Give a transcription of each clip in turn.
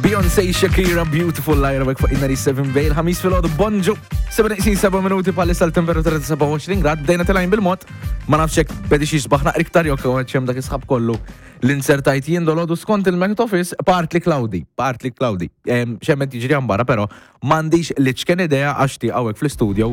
Beyoncé, Shakira, Beautiful Liar, għek fuq 97 Bay, il-ħamis fil-ħodu, bonġu, 7 minuti palissa l-temperatura ta' 27 grad, bdejna telajn bil-mod, ma nafx jekk bedi xi sbaħna iktar jew hemm dak isħab kollu l-insertajt jien dolodu skont il-Met Office, partly cloudy, partly cloudy. Xemmet jiġri barra, pero M'għandix l-iċken idea għax ti hawnhekk fl-istudio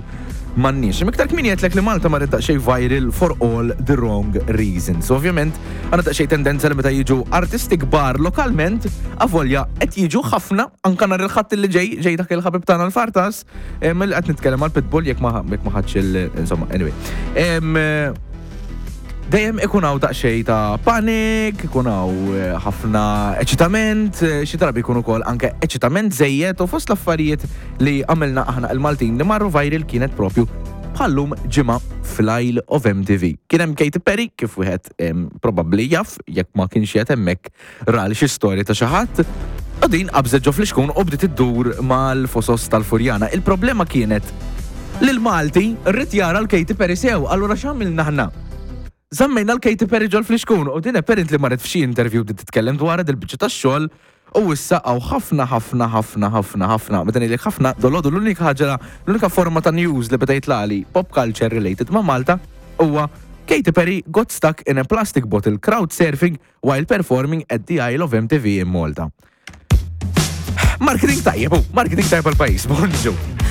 m'għandniex. Imma iktar kmieni għedtlek li Malta marret daqsxejn viral for all the wrong reasons. Ovvjament, għandna daqsxejn tendenza li meta jiġu artisti kbar lokalment, avolja qed jiġu ħafna anka nhar il-Ħadd li ġej, ġej dak il-ħabib tagħna l-Fartas, li qed nitkellem għal Pitbull jekk ma jekk ma ħadx il insomma, anyway. Dejjem ikun hawn daqsxejn ta' panik, ikun hawn eh, ħafna eċitament, eh, xi drabi jkun ukoll anke eċitament żejjed u fost l-affarijiet li għamilna aħna il-Maltin li marru viral kienet propju bħallum ġimgħa fl-Isle of MTV. Kien hemm Katy Perry kif wieħed probabbli jaf jekk ma kienx qed hemmhekk ra li xi storja ta' xi ħadd u din qabżet ġo flixkun u bdiet iddur mal-fosos tal-Furjana. Il-problema kienet li l-Malti rrid jara l-Katy Perry sew, allura x'għamilna aħna? Żammejna l-Katy Perry ġol flixkun u din apparently marret f'xi interview bdiet titkellem dwarha dil-biċċa tax-xogħol u issa hawn ħafna ħafna ħafna ħafna ħafna, meta ngħidlek ħafna, dolodu l-unika ħaġa, l-unika forma ta' news li beda jitlaqli pop culture related ma' Malta huwa Katy Perry got stuck in a plastic bottle crowd surfing while performing at the Isle of MTV in Malta. Marketing tajjeb, marketing tajjeb għal-pajis, bonġu.